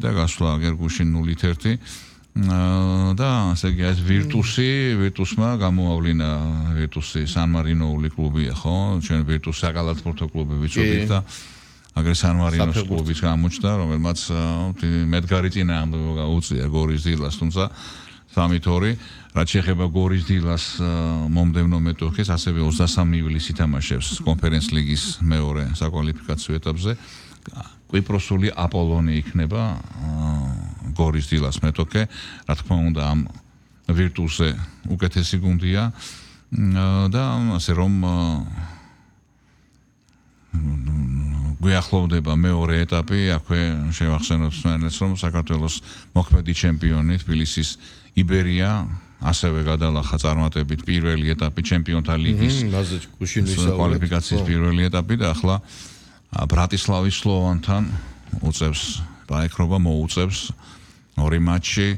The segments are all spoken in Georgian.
და გასვლა გერგუშინ 0-1 და ასე იგი ეს ვირტუსმა გამოავლინა ვირტუსი სან-მარინოული კლუბია ხო ჩვენ ვირტუს საკალათბურთო კლუბი ვიცოდით და აგრე სან-მარინოს კლუბის გამოჩნდა რომელმაც მედგარი წინააღმდეგ გაუწია გორის დილას თუმცა 3-2 რაც შეეხება გორის დილას მომდევნო მეტოქეს ასევე 23 ივლისს ითამაშებს კონფერენს ლიგის მეორე საკვალიფიკაციო ეტაპზე კვიპროსული აპოლონი იქნება გორის დილას მეტოქე რა თქმა უნდა ამ ვირტუსზე უკეთესი გუნდია და ასე რომ გვიახლოვდება მეორე ეტაპი აქვე შევახსენოთ სვენეთს რომ საქართველოს მოქმედი ჩემპიონი თბილისის იბერია ასევე გადალახა წარმატებით პირველი ეტაპი ჩემპიონთა ლიგის კვალიფიკაციის პირველი ეტაპი და ახლა ბრატისლავის სლოვანთან უწევს დაეკრობა მოუწევს ორი მატჩი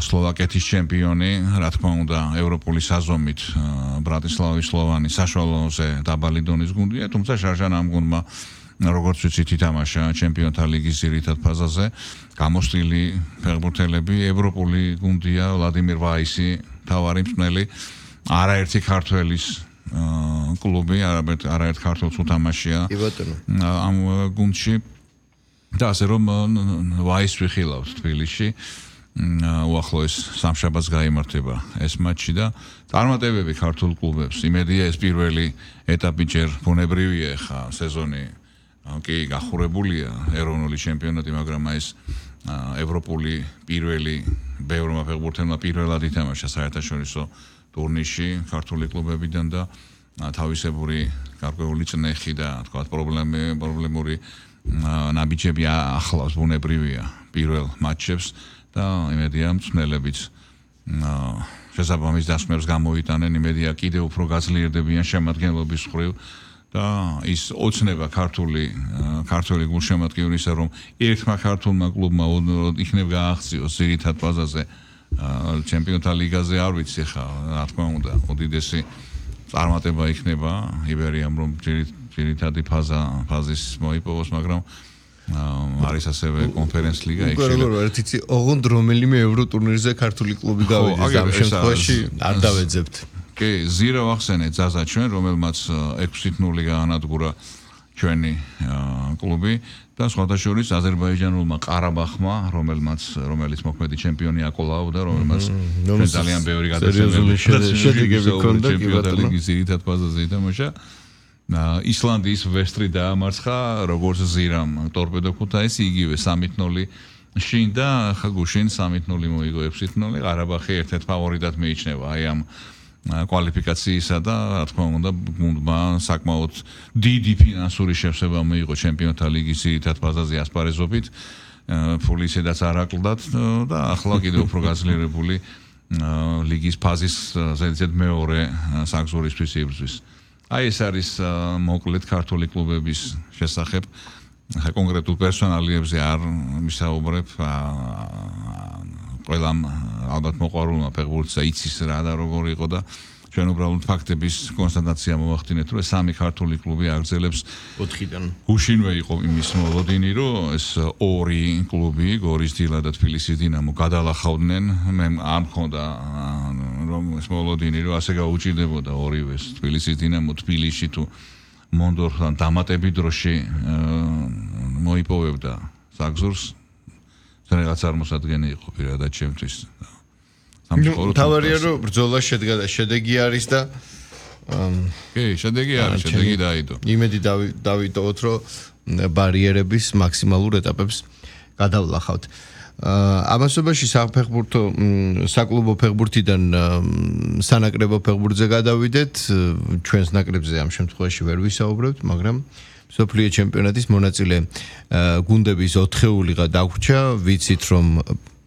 სლოვაკეთის ჩემპიონი რა თქმა უნდა ევროპული საზომით ბრატისლავის სლოვანი საშუალოზე დაბალი დონის გუნდია თუმცა შარჟან ამ გუნდმა როგორც ვიცით ითამაშა ჩემპიონთა ლიგის ძირითად ფაზაზე გამოსტილი ფეხბურთელები ევროპული გუნდია ვლადიმირ ვაისი თავარი მსმენელი არაერთი ქართველის კლუბი არაერთ ქართველს უთამაშია ამ გუნდში და ასე რომ ვაისს ვიხილავთ თბილისში უახლოეს სამშაბათს გაიმართება ეს მატჩი და წარმატებები ქართულ კლუბებს იმედია ეს პირველი ეტაპი ჯერ ბუნებრივია ხა სეზონი კი გახურებულია ეროვნული ჩემპიონატი მაგრამ ეს ევროპული პირველი ბევრმა ფეხბურთელმა პირველად ითამაშა საერთაშორისო ტურნირში ქართული კლუბებიდან და თავისებური გარკვეული წნეხი და თქვა პრობლემური ნაბიჯები ახლავს ბუნებრივია პირველ მატჩებს და იმედია მსმენელებიც შესაბამის დასმებს გამოიტანენ იმედია კიდევ უფრო გაძლიერდებიან შემადგენლობის მხრივ და ის ოცნება ქართული გულშემატკივრისა რომ ერთმა ქართულმა კლუბმა იქნებ გააღწიოს ძირითად ფაზაზე ჩემპიონთა ლიგაზე არ ვიცი ხა რა თქმა უნდა უდიდესი წარმატება იქნება იბერიამ რომ ძირითადი ფაზის მოიპოვოს მაგრამ არის ასევე კონფერენს ლიგა ერთი ოღონდ რომელიმე ევრო ტურნირზე ქართული კლუბი გავიდეს ამ შემთხვევაში არ დავეძებთ კი ზირა ვახსენეთ ზაზა ჩვენ რომელმაც 6-0 გაანადგურა ჩვენი კლუბი და სხვათა შორის აზერბაიჯანულმა ყარაბახმა რომელიც მოქმედი ჩემპიონი აკოლავდა რომელმაც ძალიან ბევრი შედეგები ჰქონდა ჩემპიონთა ლიგის ძირითად ფაზაზე ითამაშა ისლანდიის ვესტრი დაამარცხა როგორც ზირამ ტორპედო ქუთაისი იგივე 3-0 შინ და ხა გუშინ 3-0 მოიგო 6-0 ყარაბახი ერთ-ერთ ფავორიტად მიიჩნევა აი ამ კვალიფიკაციისა და რა თქმა უნდა გუნდმა საკმაოდ დიდი ფინანსური შევსება მიიღო ჩემპიონთა ლიგის ძირითად ფაზაზე ასპარეზობით ფული ისედაც არ აკლდათ და ახლა კიდევ უფრო გაძლიერებული ლიგის ფაზის ზედიზედ მეორე საგზურისთვის იბრძვის აი ეს არის მოკლედ ქართული კლუბების შესახებ ხა კონკრეტულ პერსონალიებზე არ ვისაუბრებ ყველამ ალბათ მოყვარულმა ფეხბურთსა იცის რა და როგორ იყო და ჩვენ უბრალოდ ფაქტების კონსტატაცია მოვახდინეთ რომ სამი ქართული კლუბი აგრძელებს 4-დან გუშინვე იყო იმის მოლოდინი რომ ეს ორი კლუბი გორის დილა და თბილისის დინამო გადალახავდნენ მე არ მქონდა რომ ეს მოლოდინი რომ ასე გაუჭირდებოდა ორივეს თბილისის დინამო თბილისში თუ მონდორთან დამატებით დროში მოიპოვებდა საგზურს რაღაც წარმოსადგენი იყო პირადად ჩემთვის. თავარია რომ ბრძოლა შედგა და შედეგი არის და კი, შედეგი არის, შედეგი დაიდო. იმედი დავიტოვოთ რომ ბარიერების მაქსიმალურ ეტაპებს გადავლახავთ. ამასობაში საფეხბურთო საკლუბო ფეხბურთიდან სანაკრებო ფეხბურთზე გადავიდეთ, ჩვენს ნაკრებზე ამ შემთხვევაში ვერ ვისაუბრებთ, მაგრამ სოფლიო ჩემპიონატის მონაწილე გუნდების 4-ულიღა დაგვრჩა, ვიცით რომ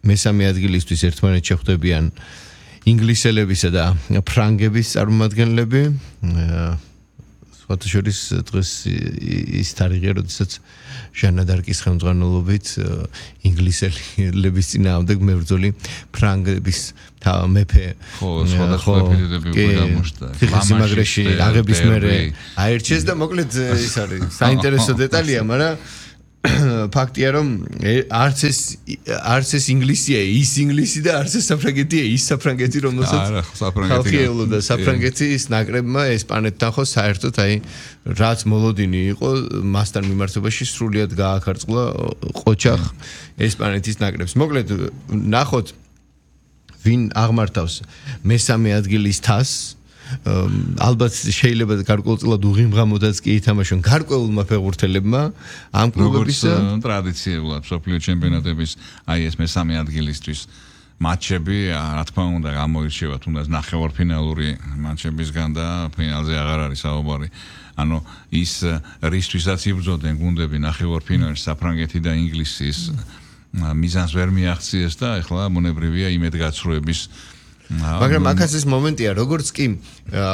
მესამე ადგილისთვის ერთმანეთს შეხვდებიან ინგლისელებისა და ფრანგების წარმომადგენლები. სხვათა შორის დღეს ის თარიღია, როდესაც ჟანა დარკის ხელმძღვანელობით ინგლისელების წინააღმდეგ მებრძოლი ფრანგების მეფე სხვადასხვა ეპიზოდები უკვე გამოჩნდა. სიმაგრეში აღების მერე აირჩიეს და მოკლედ ის არის საინტერესო დეტალია, მაგრამ ფაქტია რომ არც ეს ინგლისია ის ინგლისი და არც ეს საფრანგეთია ის საფრანგეთი რომელსაც ხალხი ელოდა საფრანგეთის ნაკრებმა ესპანეთთან ხო საერთოდ აი რაც მოლოდინი იყო მასთან მიმართებაში სრულიად გააქარწყლა ყოჩახ ესპანეთის ნაკრებს მოკლედ ნახოთ ვინ აღმართავს მესამე ადგილის თასს ალბათ შეიძლება გარკვეულწილად უღიმღამოდაც კი ითამაშონ გარკვეულმა ფეხბურთელებმა ამ კლუბებისა ტრადიციულად სოფლიო ჩემპიონატების აი ეს მესამე ადგილისთვის მატჩები რა თქმა უნდა გამოირჩევა თუნდაც ნახევარფინალური მატჩებისგან და ფინალზე აღარ არის საუბარი ანუ ის რისთვისაც იბრძოდნენ გუნდები ნახევარფინალში საფრანგეთი და ინგლისის მიზანს ვერ მიაღწიეს და ეხლა მონებრივია იმედგაცრუების მაგრამ აქაც ეს მომენტია როგორც კი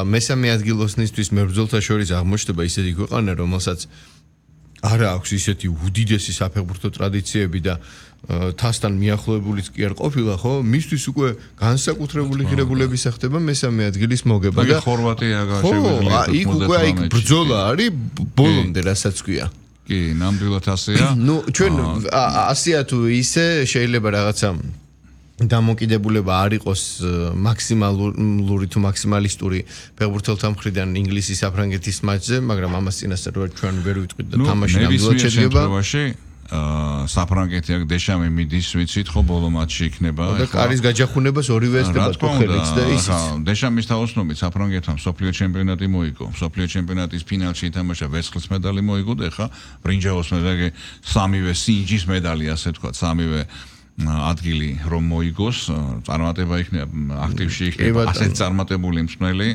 მესამე ადგილოსნისთვის მებრძოლთა შორის აღმოჩნდება ისეთი ქვეყანა რომელსაც არ აქვს ისეთი უდიდესი საფეხბურთო ტრადიციები და თასთან მიახლოებულიც კი არ ყოფილა ხო მისთვის უკვე განსაკუთრებული ღირებულების ახდება მესამე ადგილის მოგება და ხორვატია შეგვიძლია იქ უკვე აი ბრძოლა არის ბოლომდე რასაც ქვია კი ნამდვილად ასეა ნუ ჩვენ ასეა თუ ისე შეიძლება რაღაცა დამოკიდებულება არ იყოს მაქსიმალური თუ მაქსიმალისტური ფეხბურთელთა მხრიდან ინგლისის საფრანგეთის მატჩზე, მაგრამ ამას წინასწარ ჩვენ ვერ ვიტყვით და თამაში ნამდვილად შედგება. საფრანგეთი აქ დეშამი მიდის, ვიცით ხო, ბოლო მატჩი იქნება. და კარის გაჯახუნებას ორივე ესდება თუხელიც და ისიც. დეშამის თაოსნობით საფრანგეთმა სოფლიო ჩემპიონატი მოიგო. სოფლიო ჩემპიონატის ფინალში ითამაშა ვერცხლის medali მოიგო და ხა ბრინჯაოს medali სამივე სინჯის medali ასე თქვა, სამივე ადგილი რომ მოიგოს, წარმატება იქნება, აქტივში იქნება, ასეთ წარმატებული მსმელი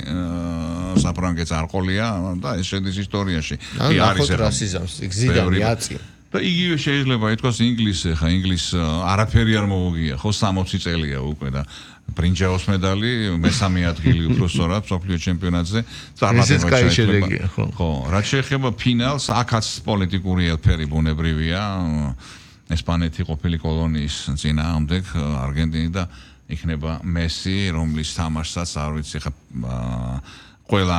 საფრანგეთს არ ყოლია და ეს შედის ისტორიაში. კი არის რასიზმს, გზიდან აწი. და იგივე შეიძლება ითქვას ინგლისზე, ხა ინგლისს არაფერი არ მოუგია, ხო 60 წელია უკვე და ბრინჯაოს medali მესამე ადგილი უფრო სწორად სოფლიო ჩემპიონატზე წარმატება შეეძლება. ხო, რაც შეეხება ფინალს, აქაც პოლიტიკური ელფერი ბუნებრივია. ესპანეთი ყოფილი კოლონიის წინააღმდეგ არგენტინი და იქნება მესი, რომლის თამაშსაც არ ვიცი ხა ყველა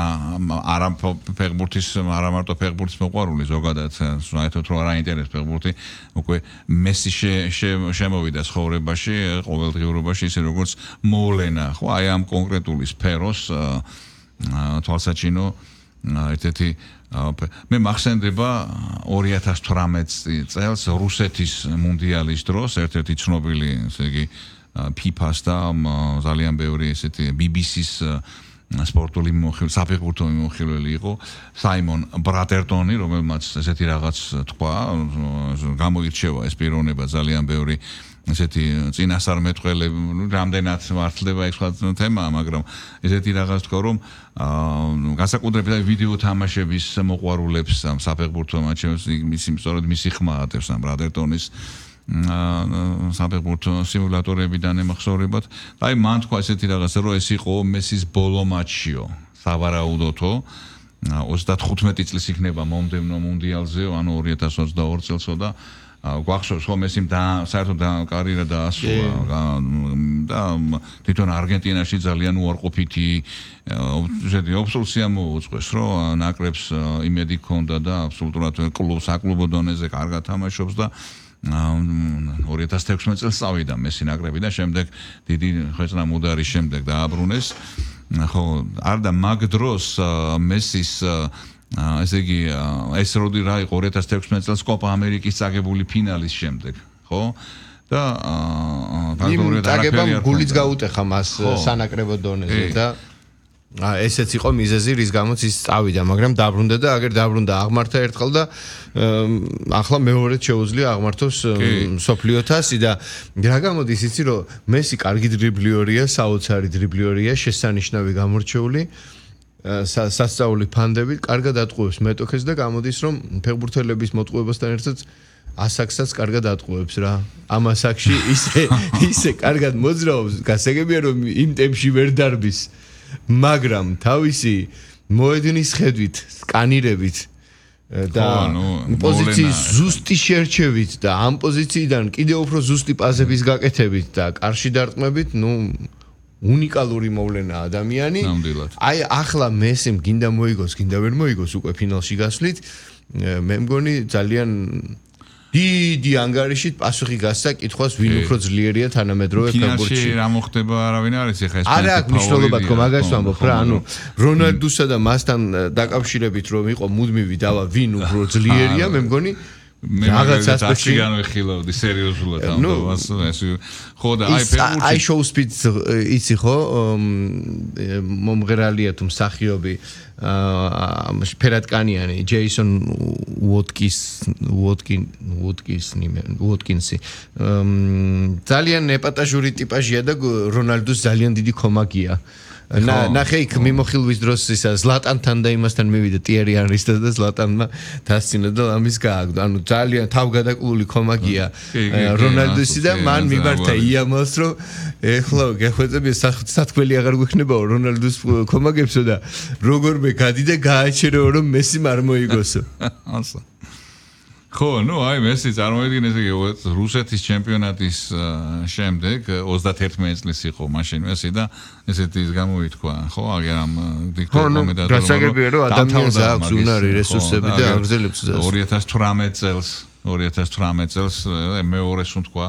არა ფეხბურთის არა მარტო ფეხბურთის მოყვარული ზოგადად საერთოდ რო არ აინტერესებს ფეხბურთი უკვე მესი შემოვიდა ცხოვრებაში ყოველდღიურობაში ისე როგორც მოვლენა ხო აი ამ კონკრეტული სფეროს თვალსაჩინო ერთ-ერთი მე მახსენდება 2018 წელს რუსეთის მუნდიალის დროს ერთ-ერთი ცნობილი ესე იგი FIFA-ს და ძალიან ბევრი ესეთი BBC-ს სპორტული საფეხბურთო მიმოხილველი იყო საიმონ ბრატერტონი რომელმაც ესეთი რაღაც თქვა გამოირჩევა ეს პიროვნება ძალიან ბევრი ესეთი წინასწარმეტყველები რამდენად მართლდება ეს სხვა თემაა მაგრამ ესეთი რაღაც თქვა რომ განსაკუთრებით ვიდეო თამაშების მოყვარულებს საფეხბურთო მატჩებს მისი ხმა ატევს ამ ბრატერტონის საფეხბურთო სიმულატორებიდან ემახსოვრებათ და აი მან თქვა ესეთი რაღაცა რომ ეს იყო მესის ბოლო მატჩიო სავარაუდოთო 35 წლის იქნება მომდევნო მუნდიალზე ანუ 2022 წელსო და გვახსოვს რომ მესიმ და საერთოდ კარიერა დაასრულა და თვითონ არგენტინაში ძალიან უარყოფითი ობსოლუცია მოუწყვეს რომ ნაკრებს იმედი ჰქონდა და აბსოლუტურად საკლუბო დონეზე კარგად თამაშობს და 2016 წელს წავიდა მესი ნაკრები და შემდეგ დიდი ხეჭნა მუდარის შემდეგ დააბრუნეს ხო არ და მაგ დროს მესის ესე იგი ეს როდი რა იყო 2016 წელს კოპა ამერიკის წაგებული ფინალის შემდეგ ხო და წაგებამ გულიც გაუტეხა მას სანაკრებო დონეზე და ესეც იყო მიზეზი რის გამოც ის წავიდა მაგრამ დაბრუნდა და აგერ დაბრუნდა აღმართა ერთხელ და ახლა მეორედ შეუძლია აღმართოს სოფლიო თასი და რა გამოდის იცი რომ მესი კარგი დრიბლიორია საოცარი დრიბლიორია შესანიშნავი გამორჩეული სასწაული ფანდებით კარგად ატყუებს მეტოქეს და გამოდის რომ ფეხბურთელების მოტყუებასთან ერთად ასაკსაც კარგად ატყუებს რა ამ ასაკში ისე კარგად მოძრაობს გასაგებია რომ იმ ტემპში ვერ დარბის მაგრამ თავისი მოედნის ხედვით სკანირებით და პოზიციის ზუსტი შერჩევით და ამ პოზიციიდან კიდევ უფრო ზუსტი პასების გაკეთებით და კარში დარტყმებით ნუ უნიკალური მოვლენა ადამიანი. აი ახლა მესიმ გინდა მოიგოს, გინდა ვერ მოიგოს უკვე ფინალში გასვლით. მე მგონი ძალიან დიდი ანგარიშით პასუხი გასცა კითხვას ვინ უფრო ძლიერია თანამედროვე ფეხბურთში. ფინალში რა მოხდება არავინ არის ეხლა ეს არა აქვს მნიშვნელობა თქო მაგას ვამბობ რა ანუ რონალდუსა და მასთან დაკავშირებით რომ იყო მუდმივი დავა ვინ უფრო ძლიერია მე მგონი რაღაც ასპექტში განვიხილავდი სერიოზულად ამბავს ეს ხო და აი ფეხბურთი აი შოუ სპიდს იცი ხო მომღერალია თუ მსახიობი ფერატკანიანი ჯეისონ უოტკინსი ძალიან ეპატაჟური ტიპაჟია და რონალდუს ძალიან დიდი ქომაგია ნახე იქ მიმოხილვის დროს ისა ზლატანთან და იმასთან მივიდა ტიერი ანრისთან და ზლატანმა დასცინა და ამის გააგდო ანუ ძალიან თავგადაკლული ქომაგია რონალდუსი და მან მიმართა იამალს რომ ეხლა გეხვეწები სათქმელი აღარ გვექნებაო რონალდუს ქომაგებსო და როგორმე გადი და გააჩერეო რომ მესიმ არ მოიგოსო ასა ხო, ну, აი მესი წარმოიდგინეთ იგი რუსეთის ჩემპიონატის შემდეგ 31 წლის იყო მაშინ მესი და ესეთი ის გამოითქვა, ხო, აგერ ამ დიქტატორ კომენტატორმა. გასაგებია რომ ადამიანს აქვს უნარი, რესურსები და აგრძელებს გზას. 2018 წელს მეორე სუნთქვა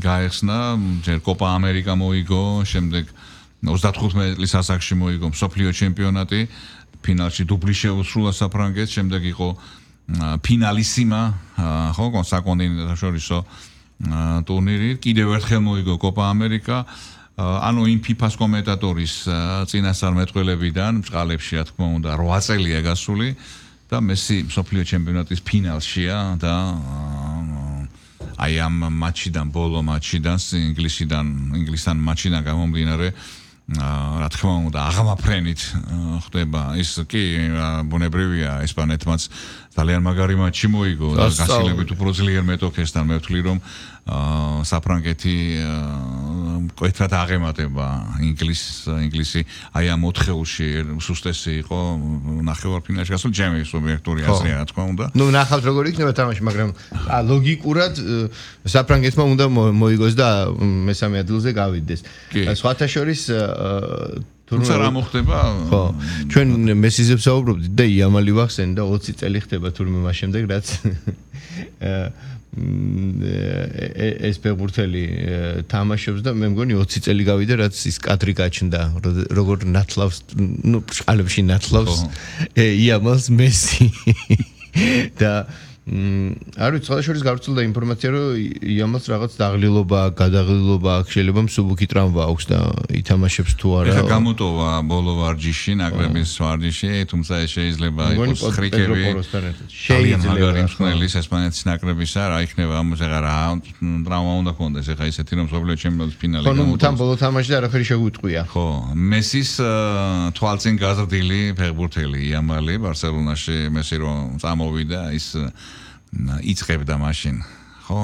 გაეხსნა, ჯერ კოპა ამერიკა მოიგო, შემდეგ 35 წლის ასაკში მოიგო მსოფლიო ჩემპიონატი, ფინალში დუბლი შეუსრულა საფრანგეთს, შემდეგ იყო ფინალისიმა ხო კონსაკონტინენტალურ შორისო ტურნირი კიდევ ერთხელ მოიგო კოპა ამერიკა ანუ იმ ფიფას კომენტატორის წინასწარმეტყველებიდან ბჭყალებში რა თქმა უნდა 8 წელია გასული და მესი მსოფლიო ჩემპიონატის ფინალშია და აი ამ მატჩიდან ბოლო მატჩიდან ინგლისთან მატჩიდან გამომდინარე რა თქმა უნდა აღამაფრენით ხდება ის კი ბუნებრივია ესპანეთმაც ძალიან მაგარი მატჩი მოიგო და გასილებით უფრო ძლიერ მეტოქესთან მე ვთვლი რომ საფრანგეთი კეთრად აღემატება ინგლისი აი ამ 4-ში სუსტესი იყო ნახევარფინალში გასულ ჩემი სუბიექტური აზრია რა თქმა უნდა ნუ ნახავთ როგორ იქნება თამაში მაგრამ ლოგიკურად საფრანგეთმა უნდა მოიგოს და მესამე ადგილზე გავიდეს სხვათა შორის თუმცა რა მოხდება? ხო, ჩვენ მესიზე ვსაუბრობდით და იამალი ვახსენე და 20 წელი ხდება თურმე მას შემდეგ რაც ეს ფეხბურთელი თამაშობს და მე მგონი 20 წელი გავიდა რაც ის კადრი გაჩნდა როგორ ნათლავს ნუ ბჭყალებში ნათლავს იამალს მესი და არ ვიცი, სხვა შორის გავრცელდა ინფორმაცია, რომ იამალს რაღაც დაღლილობა, გადაღლილობა აქვს, შეიძლება მსუბუქი ტრამვა აქვს და ითამაშებს თუ არა. ეხლა გამოტოვა ბოლო ვარჯიში, ნაკრების ვარჯიში, თუმცა ეს შეიძლება იყოს ხრიკები. შეიძლება მაგარი ესპანეთის ნაკრებისა, რა იქნება ამას ეხლა რა ტრამვა უნდა კონდეს, ეხლა ისეთი რომ მსოფლიო ჩემპიონატის ფინალი გამოტოვოს. ხო, თან ბოლო თამაშში არაფერი შეგვიტყვია. ხო, მესის თვალწინ გაზრდილი ფეხბურთელი იამალი ბარსელონაში მესი რომ წამოვიდა ის იწებდა მაშინ ხო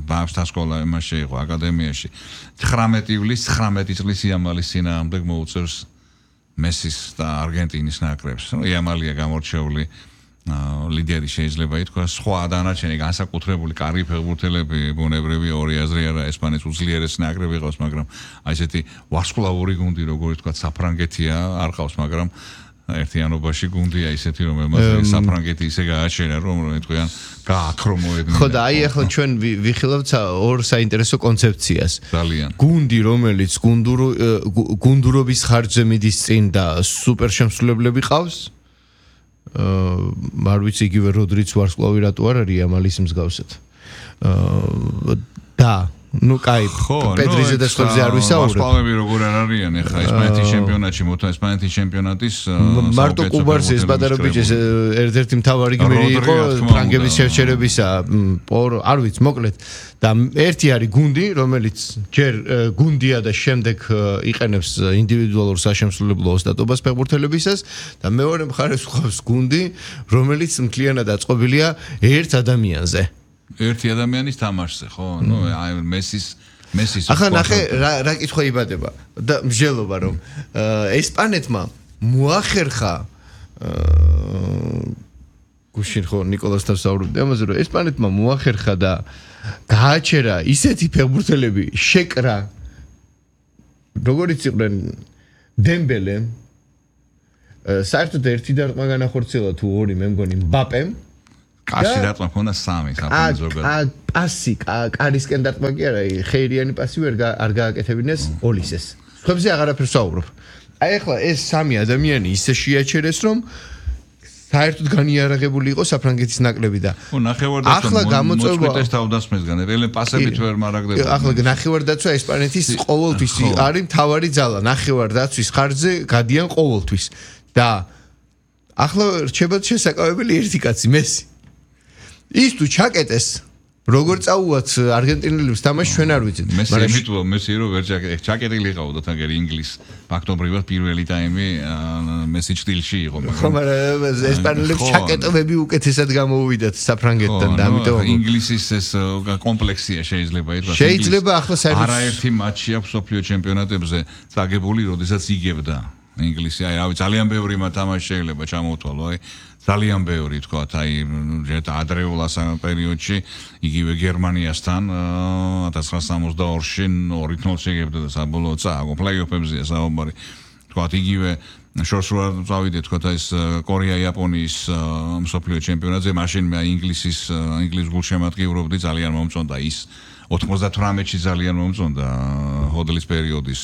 ბავშვთა სკოლა იმაში იყო აკადემიაში 19 ივლისს 19 წლის იამალის წინააღმდეგ მოუწევს მესის და არგენტინის ნაკრებს იამალია გამორჩეული ლიდერი შეიძლება ითქვას სხვა დანარჩენი განსაკუთრებული კარგი ფეხბურთელები ბუნებრივია ორი აზრი არა ესპანეთის უძლიერესი ნაკრები ყავს მაგრამ აი ესეთი ვარსკვლავური გუნდი როგორი თქვა საფრანგეთია არ ყავს მაგრამ ერთიანობაში გუნდია ისეთი რომელმაც საფრანგეთი ისე გააჩერა რომ თქვენ გააქრო მოედნი ხო და აი ახლა ჩვენ ვიხილავთ ორ საინტერესო კონცეფციას ძალიან გუნდი რომელიც გუნდურობის ხარჯზე მიდის წინ და სუპერ შემსრულებლები ყავს არ ვიცი იგივე როდრიც ვარსკვლავი რატო არ არის ამალის მსგავსად და ну кай პედრიზე და სხვებზე არ ვისაუბრებ ვარსკვლავები როგორ არ არიან ეხლა ესპანეთის ჩემპიონატში ესპანეთის ჩემპიონატის მარტო კუბარს ეს ბადარო ბიჭეს ერთ-ერთი მთავარი გმირი იყო ფრანგების შერჩერებისა არ ვიცი მოკლედ და ერთი არის გუნდი რომელიც ჯერ გუნდია და შემდეგ იყენებს ინდივიდუალურ საშემსრულებლო ოსტატობას ფეხბურთელებისას და მეორე მხარეს ხავს გუნდი რომელიც მთლიანად აწყობილია ერთ ადამიანზე ერთი ადამიანის თამაშზე, ხო? ნუ აი მესის ახლა ნახე რა კითხვა იბადება და მსჯელობა რომ ესპანეთმა მოახერხა გუშინ ხო ნიკოლასთან საუბრობდი ამაზე რომ ესპანეთმა მოახერხა და გააჩერა ისეთი ფეხბურთელები შეკრა როგორიც იყვნენ დემბელე საერთოდ ერთი დარტყმა განახორციელა თუ ორი მე მგონი მბაპემ კაში დარტყმა მქონდა 3 საფრანგეთ ზოგადად. პასი, კარისკენ დარტყმა კი არა, ხეირიანი პასი არ გააკეთებინეს ოლისეს. ხებზე აღარაფერს ვაუბრობ. აი ახლა ეს 3 ადამიანი ისე შეაჩერეს, რომ საერთოდ განიარაღებული იყო საფრანგეთის ნაკლები და ახლა გამოწვევა თავდასხმისგან ელენ პასებით ვერ მარაგდება. ახლა ნახევარდაცვა ესპანეთის ყოველთვის არის მთავარი ძალა. ნახევარდაცვის ხარჯზე გადიან ყოველთვის და ახლა რჩება შესაკავებელი ერთი კაცი მესი. ის თუ ჩაკეტეს როგორ წაუვათ არგენტინელებს თამაში ჩვენ არ ვიცით. მესი რო ვერ ჩაკეტილი ყავდა თაგერ ინგლისს ფაქტობრივად პირველი ტაიმი მესი ჭtildeში იყო. ხო, მაგრამ ესპანელებს ჩაკეტებები უკეთესად გამოუვიდათ საფრანგეთთან და ამიტომ ინგლისის ეს კომპლექსია შეიძლება ითქვას. შეიძლება ახლა საერთოდ არაერთი მატჩი აქვს სოფლიო ჩემპიონატებზე წაგებული, როდესაც იგებდა ინგლისი. აი, რავი, ძალიან ბევრი თამაში შეიძლება ჩამოთვალო, აი ძალიან ბევრი თქვათ, აი ადრეულ პერიოდში იგივე გერმანიასთან 1962-ში 2-0 შეგებდა და საბოლოოდ წააგო პლეი-ოფებზეა საუბარი. თქვათ იგივე შორს რა წავიდეთ თქვათ ეს კორეა-იაპონიის მსოფლიო ჩემპიონატზე, მაშინ მე ინგლისის გულშემატკივრობდი, ძალიან მომწონდა ის 98-ში ძალიან მომწონდა ჰოდლის პერიოდის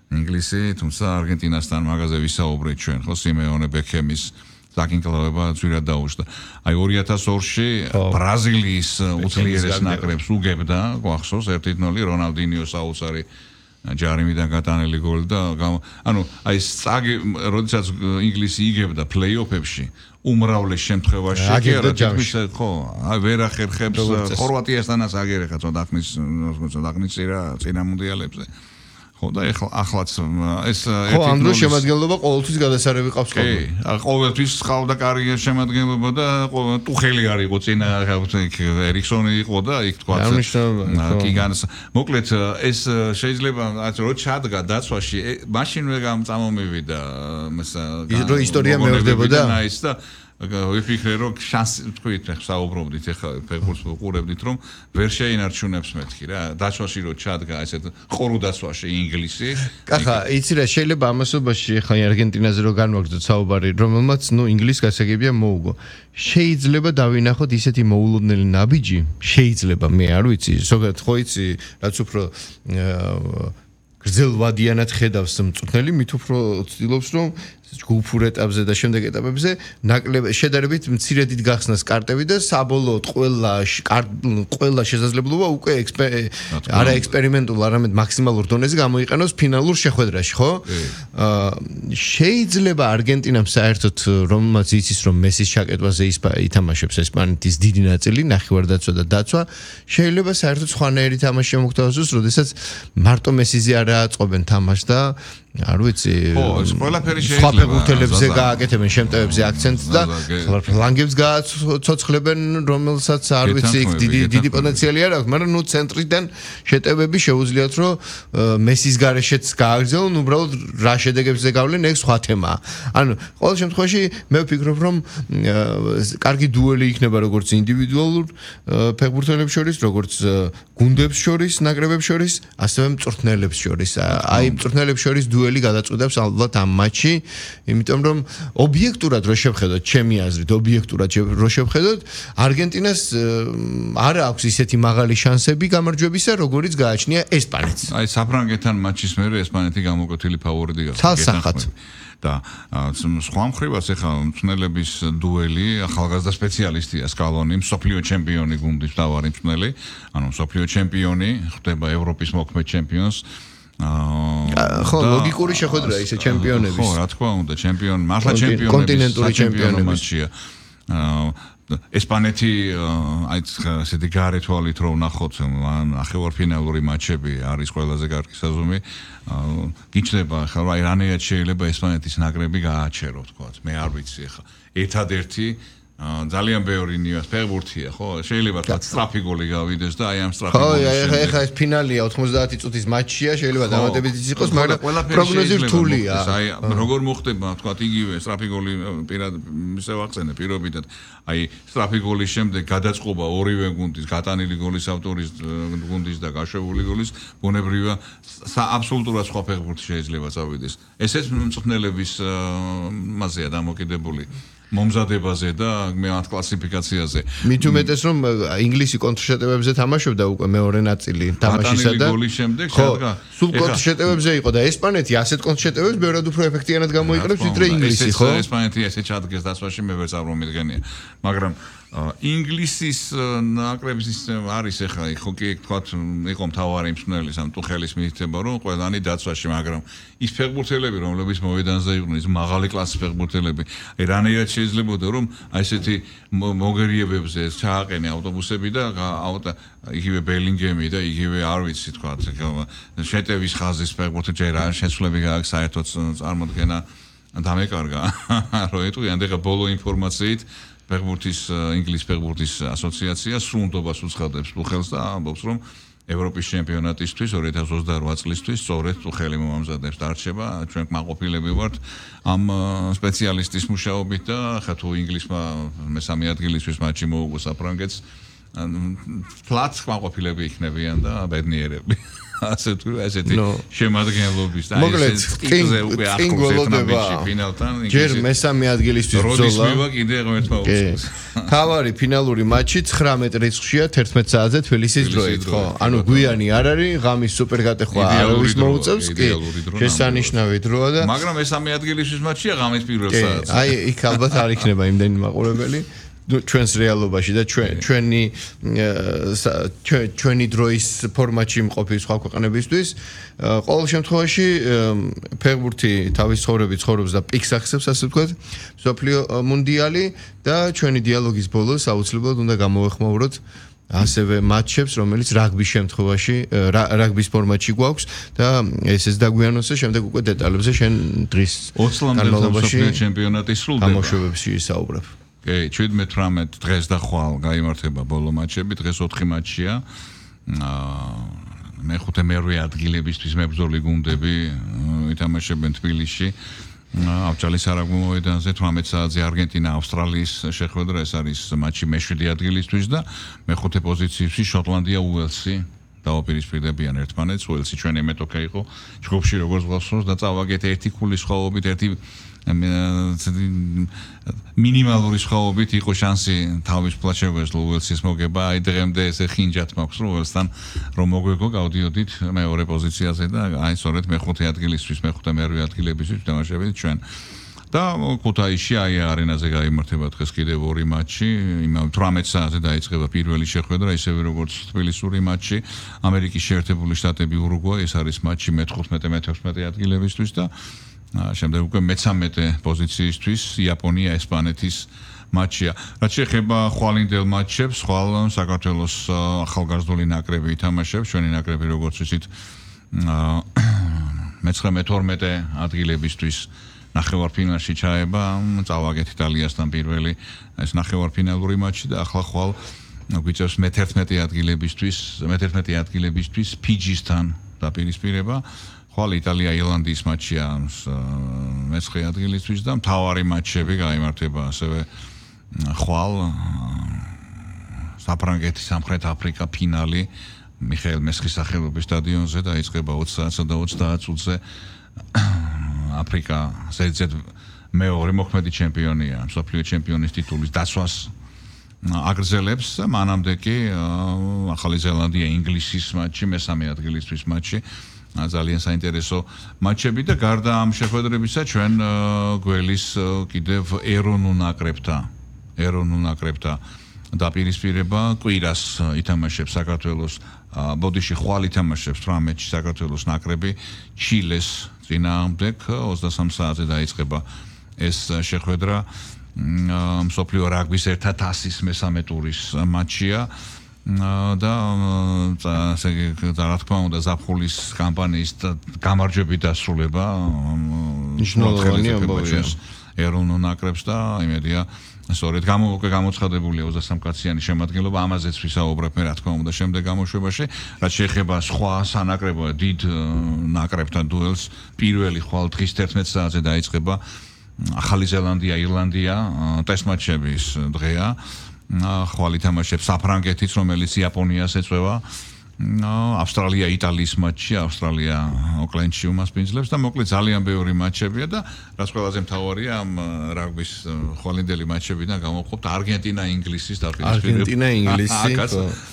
ინგლისი, თუმცა არგენტინასთან მაგაზე ვისაუბრეთ ჩვენ, ხო, სიმეონე ბექემის საკინკლავება ძვირად დაუშვდა. აი 2002-ში ბრაზილიის უძლიერეს ნაკრებს უგებდა, გვახსოვს 1-0 რონალდინიო საოცარი ჯარიმიდან გატანილი გოლი და ანუ აი როდესაც ინგლისი იგებდა პლეი-ოფებში უმრავლეს შემთხვევაში კი არა თითქმის ხო აი ვერ ახერხებს ხორვატიასთანაც აგერეხა ცოტა ხნის წინა მუნდიალებზე. ხო და ახლაც ეს ხო ამ დროს შემადგენლობა ყოველთვის გადასარევი ყავს ხოლმე. კი, ყოველთვის ყავდა კარიერის შემადგენლობა და ტუხელი არ იყო წინა ერიქსონი იყო და იქ თქვა კი განს მოკლედ ეს შეიძლება რო ჩადგა დაცვაში მაშინვე წამომივიდა რო ისტორია მეორდებოდა ის და ვიფიქრე რომ შანსი თქვით საუბრობდით ახლა ფეხბურთს ვუყურებდით რომ ვერ შეინარჩუნებს მეთქი რა დაცვაში რო ჩადგა ესეთ ყორო დაცვაში ინგლისი კახა იცი რა შეიძლება ამასობაში ახლა არგენტინაზე რო განვაგრძოთ საუბარი რომელმაც ნუ ინგლისს გასაგებია მოუგო შეიძლება დავინახოთ ისეთი მოულოდნელი ნაბიჯი შეიძლება მე არ ვიცი ზოგადად ხო იცი რაც უფრო გრძელვადიანად ხედავს მწვრთნელი მით უფრო ცდილობს რომ ჯგუფურ ეტაპზე და შემდეგ ეტაპებზე ნაკლები შედარებით მცირედით გახსნას კარტები და საბოლოოდ ყველა შესაძლებლობა უკვე არა ექსპერიმენტულ არამედ მაქსიმალურ დონეზე გამოიყენოს ფინალურ შეხვედრაში ხო? შეიძლება არგენტინამ საერთოდ რომელმაც იცის რომ მესის ჩაკეტვაზე ითამაშებს ესპანეთის დიდი ნაწილი ნახევარდაცვა და დაცვა შეიძლება საერთოდ სხვანაირი თამაში შემოგთავაზოს როდესაც მარტო მესიზე არ აწყობენ თამაშს და არ ვიცი ყველაფერი შეიძლება ფეხბურთელებზე გააკეთებენ შემტევებზე აქცენტს და ფლანგებს გააცოცხლებენ რომელსაც არ ვიცი დიდი პოტენციალი არ აქვს მაგრამ ნუ ცენტრიდან შეტევები შეუძლიათ რომ მესის გარეშეც გააგრძელონ უბრალოდ რა შედეგებზე გავლენ ეს სხვა თემაა ანუ ყოველ შემთხვევაში მე ვფიქრობ რომ კარგი დუელი იქნება როგორც ინდივიდუალურ ფეხბურთელებს შორის როგორც გუნდებს შორის ნაკრებებს შორის ასევე მწვრთნელებს შორის აი მწვრთნელებს შორის დუელი გადაწყვეტავს ალბათ ამ მატჩში იმიტომ რომ ობიექტურად რო შევხედოთ ჩემი აზრით ობიექტურად რო შევხედოთ არგენტინას არ აქვს ისეთი მაღალი შანსები გამარჯვებისა როგორიც გააჩნია ესპანეთს აი საფრანგეთთან მატჩის მერე ესპანეთი გამოკვეთილი ფავორიტი გახდა და სხვა მხრივაც ახლა მწვრთნელების დუელი ახალგაზრდა სპეციალისტია სკალონი მსოფლიო ჩემპიონი გუნდის მთავარი მწვრთნელი ანუ მსოფლიო ჩემპიონი ხდება ევროპის მოქმედ ჩემპიონს ხო ლოგიკური შეხვედრაა ისე ჩემპიონების ხო რა თქმა უნდა ჩემპიონი მართლა ჩემპიონები კონტინენტური ჩემპიონები ესპანეთი აი ესეთი გარეთვალით რომ ნახოთ ნახევარფინალური მატჩები არის ყველაზე კარგი საზომი გიჩნდება ახლა აი რანაირად შეიძლება ესპანეთის ნაკრები გააჩერო თქვა მე არ ვიცი ახლა ერთადერთი ძალიან ბევრი ნიუანს ფეხბურთია ხო შეიძლება თქვა სწრაფი გოლი გავიდეს და აი ამ სწრაფი გოლის ხო ახლა ეს ფინალია 90 წუთის მატჩია შეიძლება დამატებითიც იყოს მაგრამ პროგნოზი რთულია აი როგორ მოხდება თქვა იგივე სწრაფი გოლი პირად ისე ვახსენე პირობითად აი სწრაფი გოლის შემდეგ გადაწყობა ორივე გუნდის გატანილი გოლის ავტორის გუნდის და გაშვებული გოლის ბუნებრივია აბსოლუტურად სხვა ფეხბურთი შეიძლება წავიდეს ესეც მწვრთნელების მასეა დამოკიდებული მომზადებაზე და მათ კლასიფიკაციაზე. მით უმეტეს რომ ინგლისი კონტრშეტევებზე თამაშობდა უკვე მეორე ნაწილი თამაშისა და გოლის შემდეგ შეადგა. სულ კონტრშეტევებზე იყო და ესპანეთი ასეთ კონტრშეტევებს ბევრად უფრო ეფექტიანად გამოიყენებს ვიდრე ინგლისი, ხო? ესპანეთი ესე ჩადგეს დაცვაში მე ვერ წარმომიდგენია. მაგრამ ინგლისის ნაკრების არის ახლა ხო კი თქვა იყო მთავარი მსმენელი სამ ტუხელის მითითება რომ ყველანი დაცვაში მაგრამ ის ფეხბურთელები რომლებიც მოედანზე იყვნენ ის მაღალი კლასის ფეხბურთელები რანაირად შეიძლებოდა რომ აი ესეთი მოგერიებებზე ჩააყენე ავტობუსები და იგივე ბელინგემი და იგივე არ ვიცი თქვა შეტევის ხაზის ფეხბურთი ჯერ არ შესვლები გააქვს საერთოდ წარმოდგენა დამეკარგა რომ ეტყვიან და ბოლო ინფორმაციით ფეხბურთის ინგლისის ფეხბურთის ასოციაცია სრულდობას უცხადებს ტუხელს და ამბობს რომ ევროპის ჩემპიონატისთვის 2028 წლისთვის სწორედ ტუხელი მომამზადებს დარჩება ჩვენ კმაყოფილები ვართ ამ სპეციალისტის მუშაობით და ხა თუ ინგლისმა მესამე ადგილისთვის მატჩი მოუგო საფრანგეთს ფლაც კმაყოფილები იქნებიან და ბედნიერები ასეთი შემადგენლობის და ეს ტიკზე უკვე ახლოს ერთმანეთში ფინალთან ჯერ მესამე ადგილისთვის ბრძოლა როდის მივა კიდე ერთმა უცხოს თავარი ფინალური მატჩი 19 რიცხვშია 11 საათზე თბილისის დროით ხო ანუ გვიანი არ არის ღამის სუპერგატეხვა არავის მოუწევს კი შესანიშნავი დროა და მაგრამ მესამე ადგილისთვის მატჩია ღამის პირველ საათზე აი იქ ალბათ არ იქნება იმდენი მაყურებელი ჩვენს რეალობაში და ჩვენი დროის ფორმატში მყოფი სხვა ქვეყნებისთვის ყოველ შემთხვევაში ფეხბურთი თავის ცხოვრების ცხოვრობს და პიკს ახსებს ასე ვთქვათ მსოფლიო მუნდიალი და ჩვენი დიალოგის ბოლოს აუცილებლად უნდა გამოვეხმაუროთ ასევე მატჩებს რომელიც რაგბის შემთხვევაში რაგბის ფორმატში გვაქვს და ესეც დაგვიანოსე შემდეგ უკვე დეტალებზე შენ დღის 20 მსოფლიო ჩემპიონატი სრულდება გამოშვებებში ისაუბრებ კი 17-18 დღეს და ხვალ გაიმართება ბოლო მატჩები დღეს 4 მატჩია მეხუთე მერვე ადგილებისთვის მებრძოლი გუნდები ითამაშებენ თბილისში ავჭალის არაგბო მოედანზე 18 საათზე არგენტინა ავსტრალიის შეხვედრა ეს არის მატჩი მე-7 ადგილისთვის და მეხუთე პოზიციებში შოტლანდია უელსი დაუპირისპირდებიან ერთმანეთს უელსი ჩვენი მეტოქე იყო ჯგუფში როგორც გასულს და წავაგეთ ერთი ქულის სხვაობით ერთი მინიმალური სხვაობით იყო შანსი თავის პლაჩევეს უელსის მოგება აი დღემდე ესე ხინჯად მაქვს უელსთან რომ მოგვეგო გავდიოდით მეორე პოზიციაზე და აი სწორედ მეხუთე ადგილისთვის მეხუთე მერვე ადგილებისთვის თამაშებით ჩვენ და ქუთაისში აი არენაზე გაიმართება დღეს კიდევ ორი მატჩი იმავე 18 საათზე დაიწყება პირველი შეხვედრა ისევე როგორც თბილისური მატჩი ამერიკის შეერთებული შტატები ურუგვაი ეს არის მატჩი მე-15 ადგილებისთვის და შემდეგ უკვე მე-13 პოზიციისთვის იაპონია ესპანეთის მატჩია. რაც შეეხება ხვალინდელ მატჩებს, ხვალ საქართველოს ახალგაზრდული ნაკრები ითამაშებს, ჩვენი ნაკრები როგორც ვიცით მე-19-12 ადგილებისთვის ნახევარფინალში ჩაება, წავაგეთ იტალიასთან პირველი ეს ნახევარფინალური მატჩი და ახლა ხვალ გვიწევს მე-11 ადგილებისთვის ფიჯისთან დაპირისპირება. ხვალ იტალია ირლანდიის მატჩია მე-9 ადგილისთვის და მთავარი მატჩები გაიმართება ასევე ხვალ საფრანგეთის სამხრეთ აფრიკა ფინალი მიხეილ მესხის სახელობის სტადიონზე დაიწყება 20 საათსა და 30 წუთზე აფრიკა ზედზედ მეორე მოქმედი ჩემპიონია მსოფლიო ჩემპიონის ტიტულის დაცვას აგრძელებს მანამდე კი ახალი ზელანდია ინგლისის მატჩი მე-3 ადგილისთვის მატჩი ძალიან საინტერესო მატჩები და გარდა ამ შეხვედრებისა ჩვენ გველის კიდევ ეროვნულ ნაკრებთა დაპირისპირება კვირას ითამაშებს საქართველოს ბოდიში ხვალ ითამაშებს 18-ში საქართველოს ნაკრები ჩილეს წინააღმდეგ 23 საათზე დაიწყება ეს შეხვედრა მსოფლიო რაგბის 1000-ის მე-3 ტურის მატჩია და რა თქმა უნდა ზაფხულის კამპანიის გამარჯვებით დასრულება მნიშვნელოვანი ამბავია ეროვნულ ნაკრებს და იმედია სწორედ გამოცხადებულია 23 კაციანი შემადგენლობა ამაზეც ვისაუბრებ მე რა თქმა უნდა შემდეგ გამოშვებაში რაც შეეხება სხვა სანაკრებო დიდ ნაკრებთან დუელს პირველი ხვალ დღის 11 საათზე დაიწყება ახალი ზელანდია ირლანდია ტესტ მატჩების დღეა ხვალ ითამაშებს საფრანგეთიც რომელიც იაპონიას ეწევა ავსტრალია იტალიის მატჩი, ავსტრალია ოკლენდში უმასპინძლებს და მოკლედ ძალიან ბევრი მატჩებია და რაც ყველაზე მთავარია ამ რაგბის ხვალინდელი მატჩებიდან გამოვხობთ არგენტინა ინგლისის დაპირისპირება. არგენტინა ინგლისი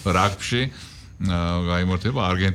რაგბში გაიმართება არგენტინა